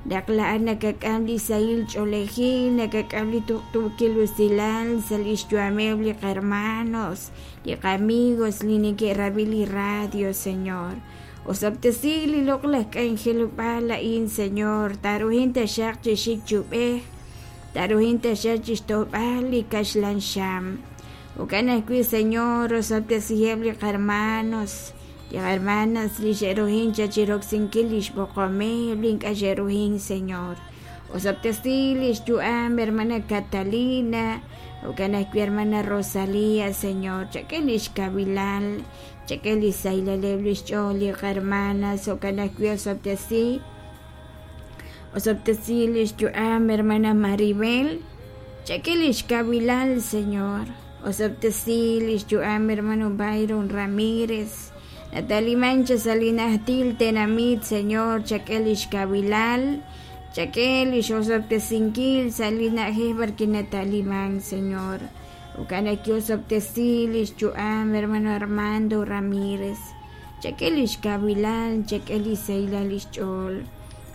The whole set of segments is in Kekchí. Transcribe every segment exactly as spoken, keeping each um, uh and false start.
Naq laa'at nakak'am li sahil ch'oolejil, nakak'am li tuqtuukil usilal sa' lix yu'ameb' li qahermanos, li qamigos li neke'rab'i li radio, Señor. Osob'tesi li loq'laj k'anjelob'aal a'in, Señor, taaruhin taxaq chi xik chi ub'ej, taaruhin taxaq chixto'b'al li kaxlan xam. Jo'kan ajwi', Señor, osob'tesiheb' li qahermanos, li hermanas li xe'ruhin cha chiroksinkil lix b'oqomeb' li ink'a' xe'ruhin, Señor. Osob'tesi lix yu'am hermana Catalina, jo'kan ajwi' hermana Rosalía, Señor, chak'e lix kavilal, chak'e lix sahilal lix ch'ool li qahermanas, jo'kan ajwi' osob'tesi osob'tesi lix yu'am hermana Maribel, chak'e lix kavilal, Señor. Osob'tesi lix yu'am hermano Byron Ramírez, nataliman cha sa' li najtil tenamit, Señor, chak'e lix kavilal, chak'e lix osob'tesinkil sa' li na'ajej b'arwi' nataliman, Señor. Jo'kan ajwi' osob'tesi lix yu'am hermano Armando Ramírez, chak'e lix kavilal, chak'e lix sahilal lix ch'ool.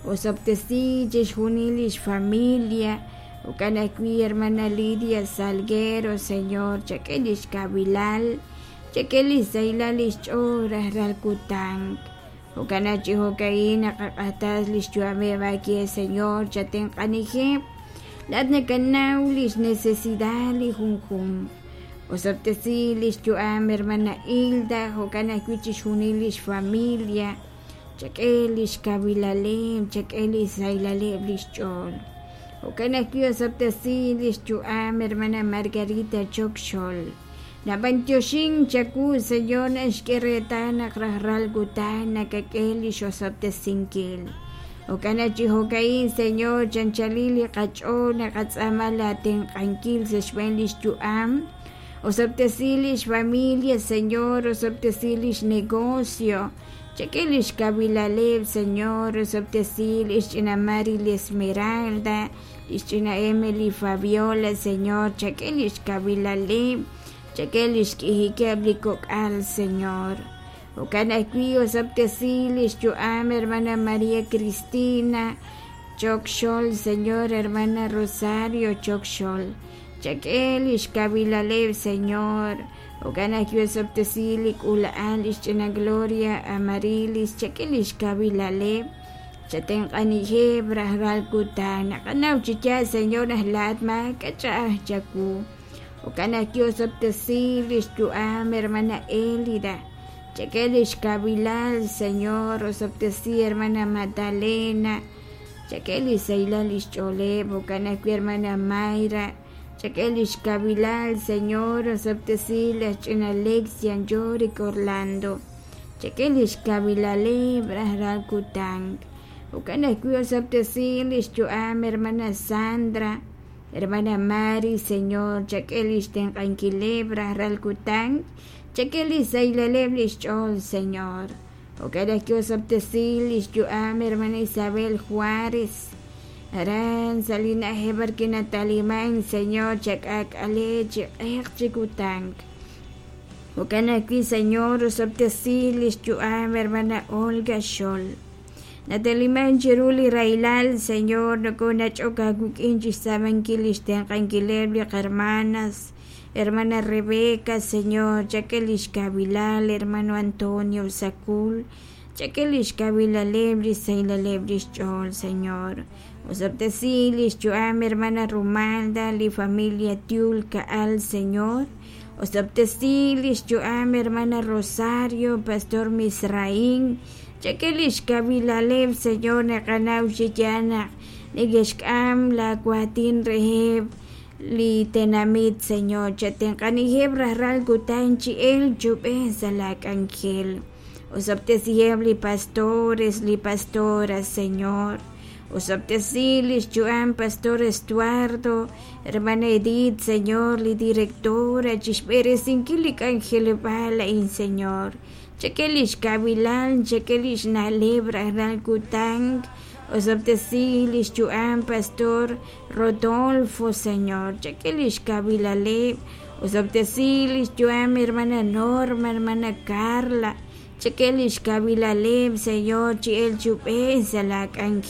Osob'tesi chixjunil lix familia, jo'kan ajwi' hermana Lidia Salguero, Señor, chak'e lix kavilal, chak'e lix sahilal lix ch'ool rajlal kutan. Jo'kan naq chi jo'ka'in naqaq'axtas lix yu'ameb' aawe, Señor, chatenq'anijeb'. Laa'at nakanaw lix necesidad li junjunq. Osob'tesi lix yu'am hermana Hilda, jo'kan ajwi' chixjunil lix familia, chak'e lix kavilaleb', chak'e lix sahilaleb' lix ch'ool. Jo'kan ajwi' osob'tesi lix yu'am hermana Margarita Chokxol. Nab'antioxin chawu, Señor, naxk'e reetal naq rajlal kutan nakak'e lix osob'tesinkil. Jo'kan naq chi jo'ka'in, Señor, chanchalil li qach'ool naqatz'aama laatenq'ankil sa' xb'een lix yu'am. Osob'tesi lix familia, Señor, osob'tesi lix negocio, chak'e lix kavilaleb', Señor, osob'tesi lix ch'ina Mari li Esmeralda, lix ch'ina Emily Fabiola, Señor, chak'e lix kavilaleb', chak'e lix k'ijikeb' li kok'al, Señor. Jo'kan ajwi' osob'tesi lix yu'am hermana María Cristina Chokxol, Señor, hermana Rosario Chokxol, chak'e lix kavilaleb', Señor. Jo'kan ajwi' osob'tesi li k'uula'al lix ch'ina Gloria Amarilis, chak'e lix kavilaleb', chatenq'anijeb' rajlal kutan. Naqanaw chi yaal, Señor, naq laa'at maak'a' ch'a'aj chawu. Jo'kan ajwi' osob'tesi lix yu'am hermana Elida, chak'e lix kavilal, Señor, osob'tesi hermana Magdalena, chak'e lix sahilal lix ch'ooleb', jo'kan ajwi' hermana Mayra, chak'e lix kavilal, Señor, osob'tesi laj ch'ina Lexian Yorick Orlando, chak'e lix kavilaleb' rajlal kutan. Jo'kan ajwi' osob'tesi lix yu'am hermana Sandra, hermana Mari, Señor, chak'e lix tenq'ankileb' rajlal kutan, chak'e lix sahilaleb' lix ch'ool, Señor. Jo'kan ajwi' osob'tesi lix yu'am hermana Isabel Juárez, aran sa' li na'ajej b'arwi' nataliman, Señor, chak'aak'ale chi q'eq chi kutan. Jo'kan ajwi', Señor, osob'tesi lix yu'am hermana Olga Xol. Nataliman chiru li rahilal, Señor, nokonach'ok aawik'in chixtz'aamankil lix tenq'ankileb' li qahermanas, hermana Rebeca, Señor, chak'e lix kavilal, hermano Antonio Sacul, chak'e lix kavilaleb' lix sahilaleb' lix ch'ool, Señor. Osob'tesi lix yu'am hermana Rumalda, li familia Tiul Ka'al, Señor. Osob'tesi lix yu'am hermana Rosario, Pastor Misraín, chak'e lix kavilaleb', Señor, naqanaw chi yaal naq neke'xk'am laawatin reheb' li tenamit, Señor, chatenq'anijeb' rajlal kutan chi elk chub'ej sa' laak'anjel. Osob'tesiheb' li pastores, li pastoras, Señor. Osob'tesi lix yu'am Pastor Estuardo, hermana Edith, Señor, li directora, chixb'eresinkil li k'anjelob'aal a'in, Señor. Chak'e lix kavilal, chak'e lix na'leb' rajlal kutan. Osob'tesi lix yu'am Pastor Rodolfo, Señor, chak'e lix kavilaleb'. Osob'tesi lix yu'am hermana Norma, hermana Carla, chak'e lix kavilaleb', Señor, chi elk chub'ej sa' laak'anjel.